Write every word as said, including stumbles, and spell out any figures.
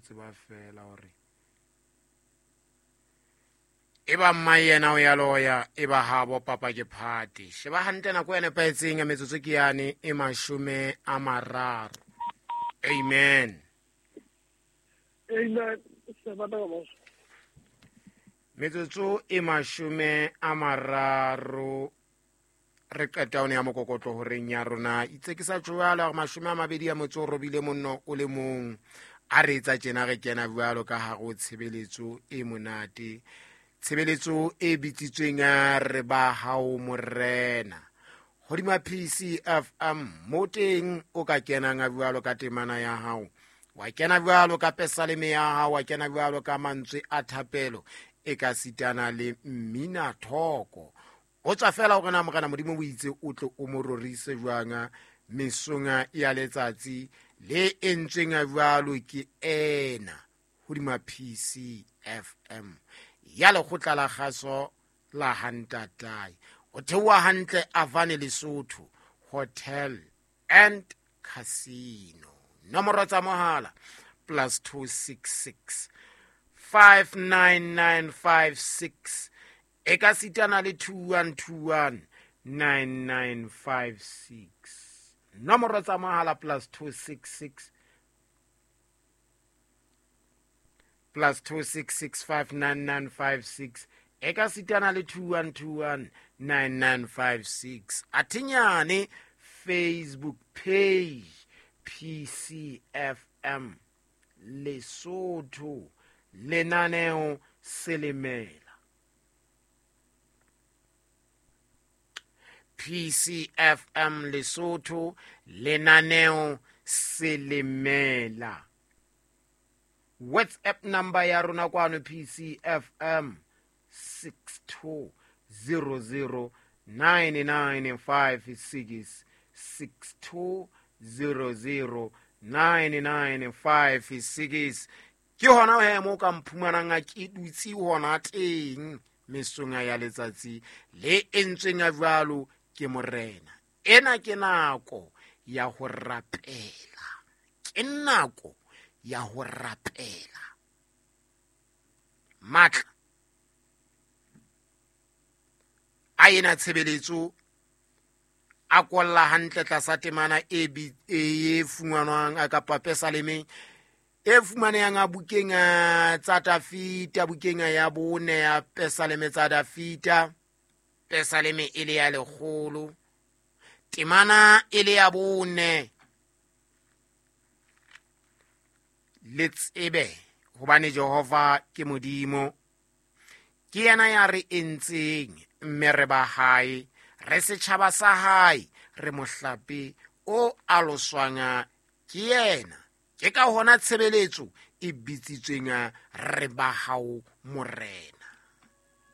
tseba fela hore e ba mma yena o ya loya e ba habo papa ke phate. Sheba hantle nako e nepahetseng ya metsotso ke yane e mashome a mararo. Amen. Amen. Metsotso e mashome a mararo re qeta one ya mokokotlo horeng ya rona. Itse ke sa tjwala hore mashome a mabedi a motso o robile monno o le mong. A re etsa tjena re kena jwalo ka hare ho tshebeletso e monate. Tshebeletso e bitsitsweng ya re ba hao morena. Hodima P C F M mo teng o ka kenang jwalo ka temana ya hao. Wa kena jwalo ka pesaleme ya hao, wa kena jwalo ka mantswe a thapelo e ka sitana le mmina thoko. O tswa fela hore na morena Modimo o itse o tle o mo rorise jwang mesong ya letsatsi le entsweng jwalo ke ena hodima P C F M ya lekgotla la kgaso la Hantatai. O theoha hantle Avane Lesotho Hotel and Casino. Nomoro tsa mohala plus two six six five nine nine five six e ka sitana le two one two one nine nine five six. Nomoro tsa mohala plus two six six plus two six six five nine nine five six e ka sitana le two one two one nine nine five six. Athinyane Facebook page P C F M Lesotho lenaneo Selemela. P C F M Lesotho lenaneo Selemela. WhatsApp number ya rona kwano P C F M six two zero zero nine nine five six six two zero zero nine nine five six. Ke hona he mo ka mphumanang a ke dutse hona teng mesong ya letsatsi le entsweng ya jwalo ke morena. Ena ke nako ya ho rapela. Ke nako ya ho rapela. Matla a ena tshebeletso a kolla hantle tlasa temana e e fumanwang a kapa pesaleme e fumanehang a bukeng tsa Dafita, bukeng ya bone ya pesaleme tsa Dafita, pesaleme e le ya lekgolo, temana e le ya bone. Le tsebe hobane Jehova ke Modimo, ke yena ya re entseng mme re ba hae, re setjhaba sa hae, re mohlape o aloswang ke yena. Ke ka hona tshebeletso e bitsitsweng re ba hao morena.